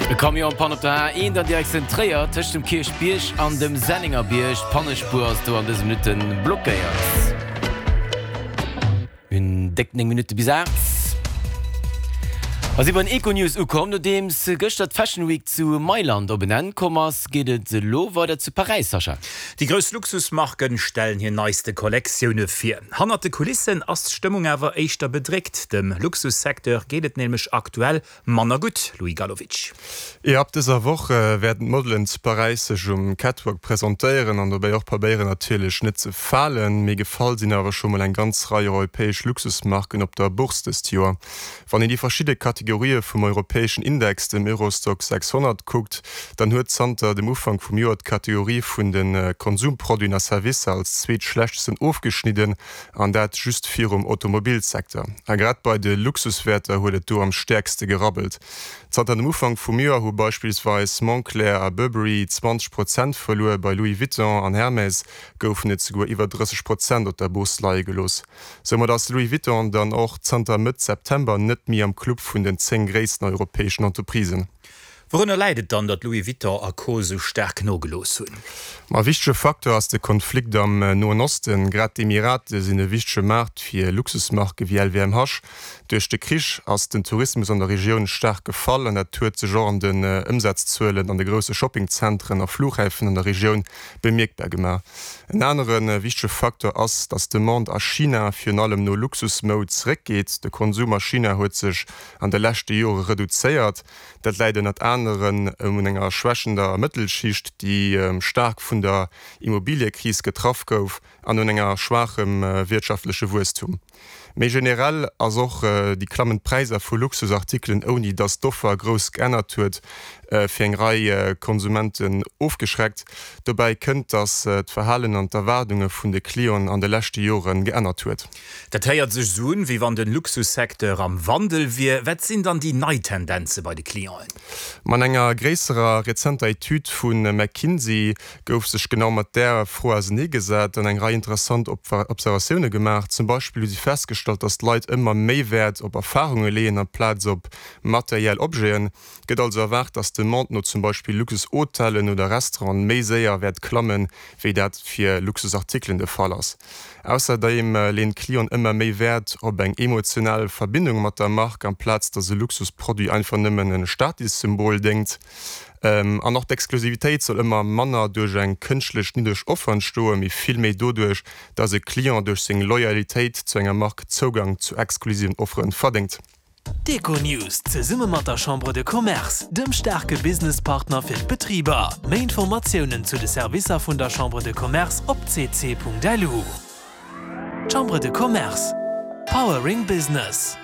E Camion en panne op der A1 an Direktioun Tréier, tëscht dem Kierchbierg an dem Sennengerbierg. D'Pannespuer ass do an dëse Minutte blockéiert. Mir hunn déck 9 Minutte bis 8. A si bei den Econews ukomm. Nodeems gëschter d'Fashion Week zu Mailand op en Enn komm ass, geet et elo weider zu Paräis, Sascha. Déi grouss Luxusmarken stellen hir neiste Kollektioune vir. Hannert de Kulissen ass d'Stëmmung awer éischter bedréckt. Dem Luxussecteur geet et nämlech aktuell Manner gutt, Louis Gallowitsch. Jo, ab dëser Woch wäerten d'Modelen zu Paräis sech um Catwalk presentéieren an dobäi och probéieren natierlech net ze falen. Mee gefall sinn awer scho mol eng ganz Rei europäesch Luxusmarken op der Bourse dëst Joer. Wann een déi verschidde Kategorië vum europäeschen Index, dem Eurostoxx 600, kuckt, dann huet zanter dem Ufank vum Joer d'Kategorie vun de Konsumproduiten a Servicer als zweetschlechtesten ofgeschnidden. An dat just virum Automobilsecteur. A grad bei de Luxuswäerter huet et do am stäerkste gerabbelt. Zanter dem Ufank vum Joer hu beispillsweis Moncler a Burberry 20 Prozent verluer, bei Louis Vuitton an Hermès goufen et souguer iwwer 30 Prozent op der Bourse leie gelooss. Soumat ass Louis Vuitton dann och zanter Mëtt September net méi am Club vun den 10 gréissten europäeschen Entreprisen. Wourunner läit et dann, datt Louis Vuitton a Co. Esou staark nogelooss hunn? Ma e wichtege Facteur ass de Konflikt am Noen Osten. Grad d'Emirate sinn e wichtege Maart fir Luxusmarke wéi LVMH. Duerch de Krich ass den Tourismus an der Regioun staark gefall an dat huet sech och an den Ëmsazzuelen an de grousse Shoppingzentren a Flughäfen an der Regioun bemierkbar gemaach. En anere wichtege Facteur ass, datt d'Demande a China virun allem no Luxusmoud zeréckgeet. De Konsum a China huet sech an de leschte Jore reduzéiert. Dat läit ënnert aneren un enger schwächender Mëttelschicht, déi staark vun der Immobiliëkris getraff gouf, an un enger schwaachem wirtschaftleche Wuesstum. Méi generell ass och déi klammend Präisser vu Luxusartikelen, ouni datt d'Offer grouss geännert huet, fir eng Rei Konsumenten ofgeschreckt. Dobäi kënnt, datt d'Verhalen an d'Erwaardunge vun de Clienten an de leschte Jore geännert huet. Dat héiert sech esou un, wéi wann de Luxussecteur am Wandel wier. Wat sinn dann déi nei Tendenze bei de Clienten? Ma an enger gréisserer rezenter Etüd vu McKinsey gouf sech genau mat där Fro auserneegesat an eng Rei interessant Observatioune gemaach. Zum Beispill hu si festgestallt, datt d'Leit ëmmer méi Wäert op Erfarunge leeën amplaz op materiell Objeten. Et gëtt also erwaart, datt d'Demande no zum Beispill Luxushotellen oder Restauranten méi séier wäert klammen, wéi dat fir Luxusartikelen de Fall ass. Ausserdeem leeën d'Clienten ëmmer méi Wäert op eng emotional Verbindung mat der Mark, amplaz datt e Luxusproduit einfach nëmmen e Statussymbol déngt. An och d'Exklusivitéit soll ëmmer manner duerch eng kënschtlech niddreg Offer entstoen, mee vill méi doduerch, datt e Client duerch seng Loyalitéit zu enger Mark Zougang zu exklusiven Offere verdéngt. D'Econews zesumme mat der Chambre de Commerce, dem staarke Businesspartner fir d'Betriber. Méi Informatiounen zu de Servicer vun der Chambre de Commerce op cc.lu. Chambre de Commerce, Powering Business.